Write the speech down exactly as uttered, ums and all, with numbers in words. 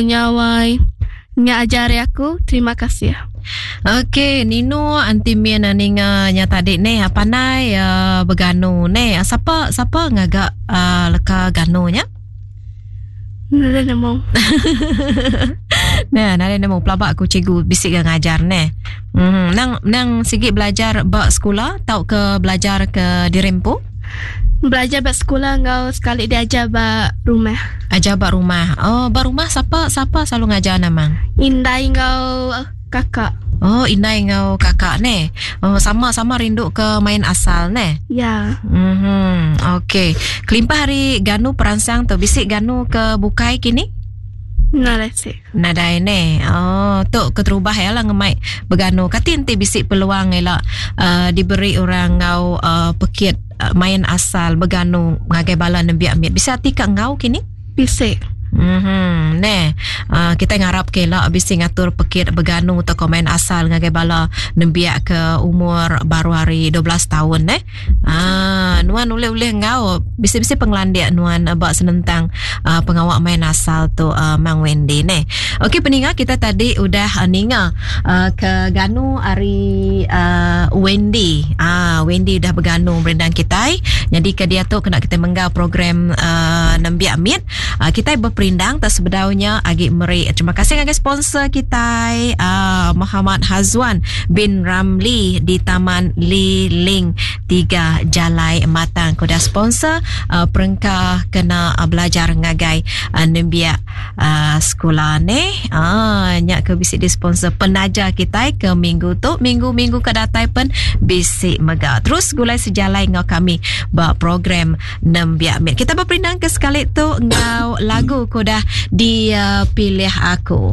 Nyawai nya ajar aku. Terima kasih. Okey, Nino anti min ninga nya tadi neh pandai uh, beganu neh. Siapa siapa ngaga uh, leka ganu nya? Nada nemu. Nah, nada nemu pelabak aku cikgu bisik ke ngajar neh. Hmm, nang nang sigi belajar ba sekolah tau ke belajar ke dirempu? Belajar ba sekolah ngau sekali diajar ba rumah. Ajar ba rumah. Oh, ba rumah siapa siapa selalu ngajar namang? Indai ngau kakak. Oh, indai ngau kakak neh. Oh, sama-sama rindu ke main asal neh. Ya. Mhm. Okey. Kelimpah hari ganu perangsang tu bisik ganu ke bukai kini? Nadai sih. Nadai ne. Oh, tu keterubah ya lah ngemai beganu. Kati enti bisik peluang ela uh, diberi orang ngau uh, pekit uh, main asal beganu ngagai bala nembiak mit. Bisa ati ka ngau kini? Bisik. Mhm. Ne, uh, kita ngarap ke la bisi ngatur pekit beganu atau main asal ngagai bala nembiak ke umur baru hari dua belas tahun ne. Ah, nuan ulih-ulih ngau bisi-bisi penglandik nuan bak senentang uh, pengawak main asal tu uh, Mang Wendy ne. Okey peninga kita tadi udah uh, ninga uh, ke ganu hari uh, Wendy. Ah, Wendy udah beganu merindang kita. Jadi ke dia tu kena kita menggau program uh, nembiak mit. Uh, kita berperindang tak sebedaunya agi meri. Terima kasih ngagai sponsor kita uh, Muhammad Hazwan bin Ramli di Taman Liling tiga Jalai Matang. Kuda sponsor uh, perengka kena uh, belajar ngagai uh, nembiak uh, sekolah ni. Ah, nyak ke bisi di sponsor penaja kita ke minggu tu, minggu-minggu ke datai pen bisi mega. Terus gulai sejalai ngau kami ba program nembiak mit. Kita berperindang ke sekali tu ngau lagu kuda dipilih aku.